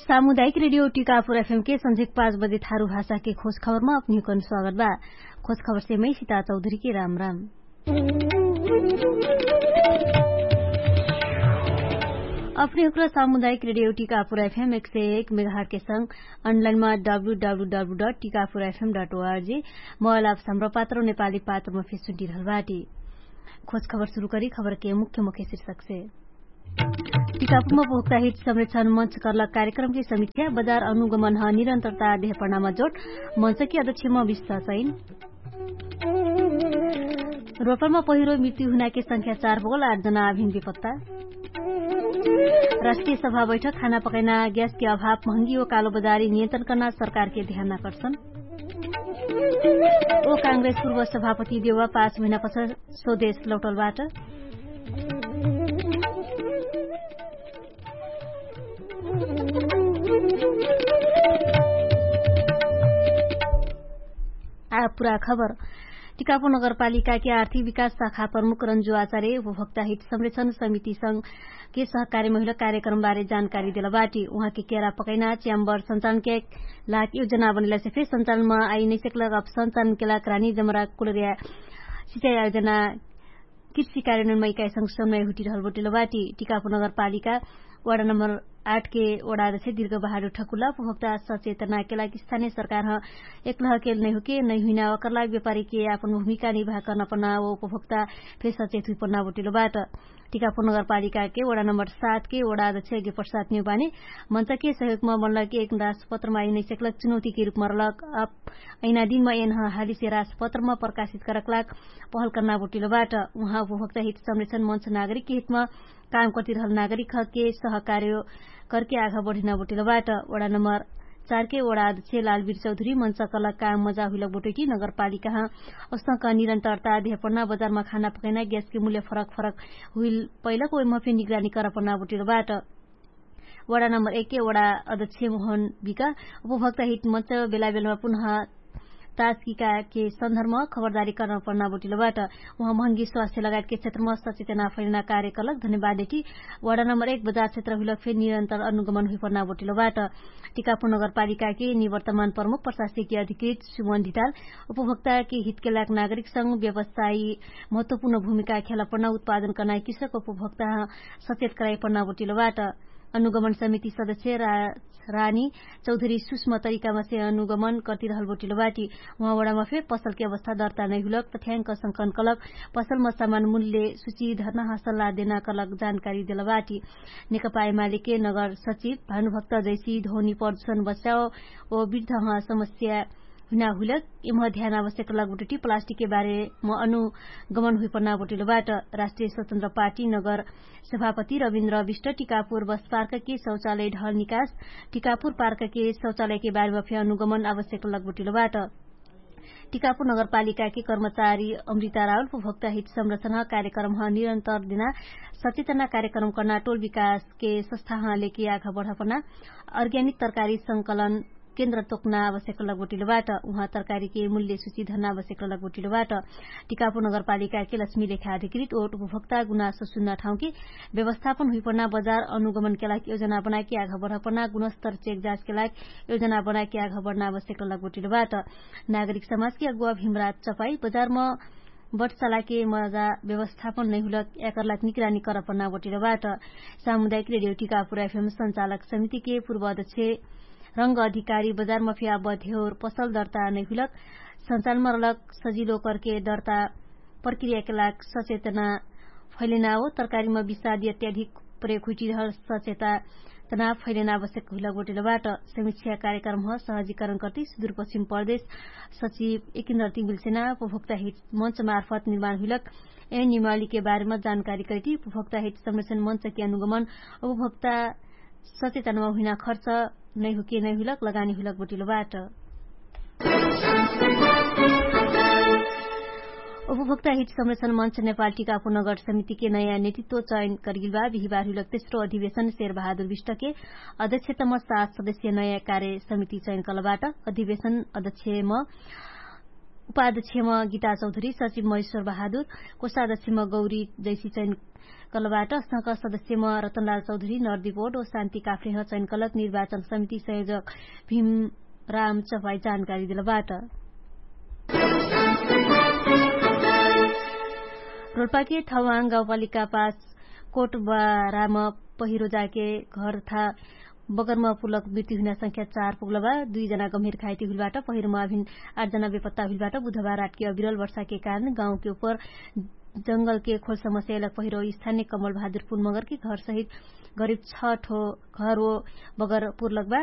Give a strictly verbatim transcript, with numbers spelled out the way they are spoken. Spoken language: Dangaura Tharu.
सामुदायिक रेडियो टिकापुर एफएम के संझेक पाँच बजे थारु भाषा के खोज खबरमा अपनिहुकन स्वागत बा। खोज खबर से मै सिता चौधरी के राम राम। अपनिहुक्र सामुदायिक रेडियो टिकापुर एफएम एक सय एक मेगाहट के संग अनलाइनमा W W W dot Tikapur FM dot ORG mobile app सम्र पात्र नेपाली पात्रमा फेसुन्टी रहल बाटी। खोज खबर सुरु करी खबर के मुख्य मुख्य शीर्षक से। टिकापुरमा उपभोक्ता हित संरक्षण मञ्च कर्लक कार्यक्रमके समिक्षा बजार अनुगमनह निरन्तरता देहपर्णामा जोट। मञ्चके अध्यक्षमा विश्वास ऐन। रोपरमा पहिरो मृत्यु हुनाके संख्या चार बगल आठ जना आभिन विपत्ता। राष्ट्रिय सभा बैठक खाना पकैना ग्यासके अभाव महँगी ओ कालो बजारी नियन्त्रण कर्ना सरकारके ध्यान आकर्षण। ओ काङ्ग्रेस पूर्व सभापति देवा पाँच महिना पछ स्वदेश लौटलबाट। आ पुरा खबर। टिकापुर नगरपालिकाके आर्थिक विकास शाखा प्रमुख रन्जु आचार्य उपभोक्ता हित संरक्षण समिति संग के सहकार्य महिला कार्यक्रमबारे जानकारी देलबाटी। उहाँके केरा पकैना च्याम्बर सञ्चालनके लाग योजना बनैलासे फेर सञ्चालनमा आइ नैसकलक अब सञ्चालनके लाग रानी जमरा कुलरिया सिचाइ आयोजना कृषि कार्यान्वयनमा इकाइ संग समय हुटिरहल बोटिलो बाटी। टिकापुर नगरपालिका वडा नम्बर आठ के वडा अध्यक्ष दीर्घ बहादुर ठकुला उपभोक्ता सचेतनाके लागि स्थानीय सरकारह एकलहके नैहुके नैहुइना ओकरलाग व्यापारीके आपन भूमिका निर्वाह कर्ना पर्ना ओ उपभोक्ता फेर सचेत हुइपर्ना बोटिलो बाट। टिकापुर नगरपालिकाके वडा नम्बर सात के वडा अध्यक्ष यज्ञ प्रसाद नेउपाने मञ्चके सहयोगमा बनलके एक राजपत्रमा आइ नैसकलक चुनौतीके रूपमा रलक। अप ऐना दिनमा एनह हालिसे राजपत्रमा प्रकाशित करकलाग पहल कर्ना बोटिलो बाट। उहाँ उपभोक्ता हित संरक्षण मञ्च नागरिकके हितमा काम कर्तिरहल नागरिकके सहकार्य करके आघा बढिना बोटिलो बाट। वडा नम्बर चारके वडा अध्यक्ष लालवीर चौधरी मञ्च कलक काम मजा हुइलक बोटैटी नगरपालिकाह औसक निरन्तरता देहपर्ना बजारमा खाना पकैना ग्यासके मूल्य फरक फरक हुइल पैलक ओइमफे निगरानी करपर्ना बोटिलो बाट। वडा नम्बर एकके वडा अध्यक्ष मोहन बिका उपभोक्ता हित मञ्च बेलाबेलमा पुनः ताजकिकाके सन्दर्भमा खबरदारी कर्ना पर्ना बोटिलो बाट। उहाँ महँगी स्वास्थ्य लगायतके क्षेत्रमा सचेतना फैलना कार्यकलक धन्यवाद देटी वडा नम्बर एक बजार क्षेत्र हुइलक फेर निरन्तर अनुगमन हुइपर्ना बोटिलो बाट। टिकापुर नगरपालिकाके निवर्तमान प्रमुख प्रशासकीय अधिकृत सुमन धिताल उपभोक्ताके हितके लाग नागरिकसँग व्यवसायी महत्वपूर्ण भूमिका खेला पर्ना उत्पादन कर्ना किसक उपभोक्ता सचेत कराइ पर्ना बोटिलो बाट। अनुगमन समिति सदस्य रानी चौधरी सुष्म तरिकामा से अनुगमन कर्तिरहल बोटिलो बाटी। उहाँ वडामा फे पसलके अवस्था दर्ता नैहुलक तथ्याङ्क संकन कलक पसलमा सामान मूल्य सुची धर्नाह सल्लाह देना कलक जानकारी देल बाटी। नेकपाए मालिके नगर सचिव भानुभक्त जैसी धोनी प्रदूषण बस्याओ ओ बिर्धह समस्या हुइना हुइलक एमह ध्यान आवश्यक लगबटुटी प्लास्टिकके बारेम अनुगमन हुइपर्ना बोटिलो बाट। राष्ट्रिय स्वतन्त्र पार्टी नगर सभापति रविन्द्र विष्ट टिकापुर बस पार्कके शौचालय ढल निकास टिकापुर पार्कके शौचालयके बारेमा फे अनुगमन आवश्यक लगबटिलो बाट। टिकापुर नगरपालिकाके कर्मचारी अमृता राहुल उपभोक्ता हित संरक्षणह कार्यक्रमह निरन्तर दिना सचेतना कार्यक्रम कर्ना टोल विकासके सस्थाह लेके आघा बढापना अर्ग्यानिक तरकारी संकलन केन्द्र तोक्ना आवश्यक लगबटिलो बाट। उहाँ तरकारीके मूल्य सुची धर्ना आवश्यक लगबटिलो बाट। टिकापुर नगरपालिकाके लक्ष्मी लेखा अधिकृत ओट उपभोक्ता गुनासो सुन्ना ठाउँके व्यवस्थापन हुइपर्ना बजार अनुगमनके लागि योजना बनाके आघा बढापना गुणस्तर चेक जाँचके लागि योजना बनाके आघा बढ्ना आवश्यक लगबटिलो बाट। नागरिक समाजके अगुवा भिमराज चपाई बजारम बटसालाके मजा व्यवस्थापन नैहुलक याकरलाक निगरानी करपर्ना बोटिलो बाट। सामुदायिक रेडियो टिकापुर एफएम सञ्चालक समितिके पूर्व अध्यक्ष रङ्ग अधिकारी बजारमा फे आबद्ध हेउर पसल दर्ता नैहुलक सञ्चालमा रलक सजिलो करके दर्ता प्रक्रियाके लाग सचेतना फैलेना हो तरकारीमा विषादी अत्याधिक प्रयोग हुइटिरहल सचेतना फैलेना आवश्यक हुइलक बोटिलो बाट। समीक्षा कार्यक्रमह सहजीकरण कर्ति सुदूरपश्चिम प्रदेश सचिव एकिन्द्र तिमिलसेना उपभोक्ता हित मञ्च मार्फत निर्माण हुइलक एन निमालीके बारेमा जानकारी करति उपभोक्ता हित संरक्षण मञ्चके अनुगमन उपभोक्ता सचेतनमा हुइना खर्च नैहुके नैहुलक लगानी हुइलक बोटिलो बाट। उपभोक्ता हित संरक्षण मञ्च नेपाल टिकापुर नगर समितिके नयाँ नेतृत्व चयन करगिलबा बिहिबार हुइलक तेस्रो अधिवेशन शेरबहादुर विष्टके अध्यक्षतम सात सदस्य नयाँ कार्य समिति चयन कलबाट। अधिवेशन अध्यक्षम उपाध्यक्षम गीता चौधरी सचिव महेश्वर बहादुर कोषाध्यक्षम गौरी जैसी चैन कलबाट सदस्यम रतनलाल चौधरी नर्दिपोट ओ शान्ति काफ्रेह चैन कलक निर्वाचन समिति संयोजक भीम राम चपाई जानकारी देलबाट। रोल्पाके थवाङ गाउँपालिका पास कोटबाराम पहिरो जाके घर तथा बगरमा पुलक मृत्यु हुइना संख्या चार पुग्लबा दुई जना गम्भीर घाइती हुइलबाट पहिरोमा अभिन आठ जना बेपत्ता हुइलबाट बुधबार रातके अविरल वर्षाके कारण गाउँके उपर जंगलके खोल समस्या एलक पहिरो स्थानिक कमल बहादुर पुन मगरके घर सहित गरिब छ ठो घर ओ बगर पुर्लकबा।